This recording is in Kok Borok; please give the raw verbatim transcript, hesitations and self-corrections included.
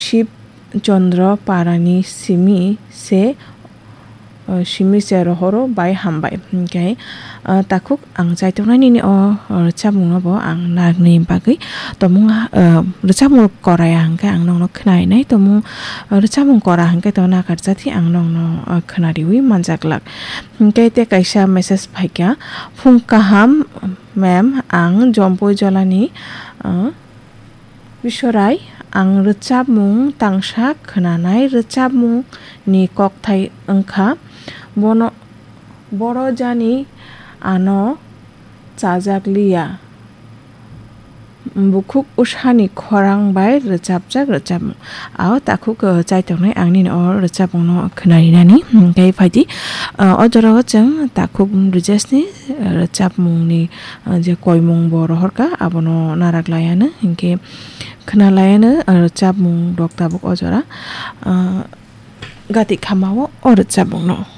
Shib Chandra Parani simi se, uh, simi se rohoro bai hambai. Hinkhe, uh, takhuk ang chaitongnai nini o, uh, rwchapmungno bo ang narwknai bagwi tomung, uh, rwchapmung koraya hinkhe ang nokno khnainai tomung, uh, rwchapmung kora hinkhe to nakarjati ang nokno, uh, khnariwi manjaklak. Hinkhe te kaisa message phaikha, "Phung kaham ma'am, ang Jompui Jolani, uh, Bisorai, ang rwchapmung tangsa khwnanai, rwchapmungni kokthai wngkha, bono, boro jani ano chajak liya, bukhuk usani khorang bai rwchapjak rwchapmung." Ao takhuk, uh, chaitongnai ang nini o rwchapmungno khwnarinani. Hinkhe phaidi, uh, o jorao chwng takhuk Brijesni, uh, rwchapmungni, uh, je koimung bo rohorkha, abono narak laiano, hinkhe khna laiano, uh, rwchapmung rok tabuk o jora, uh, gati khamao o rwchapmungno.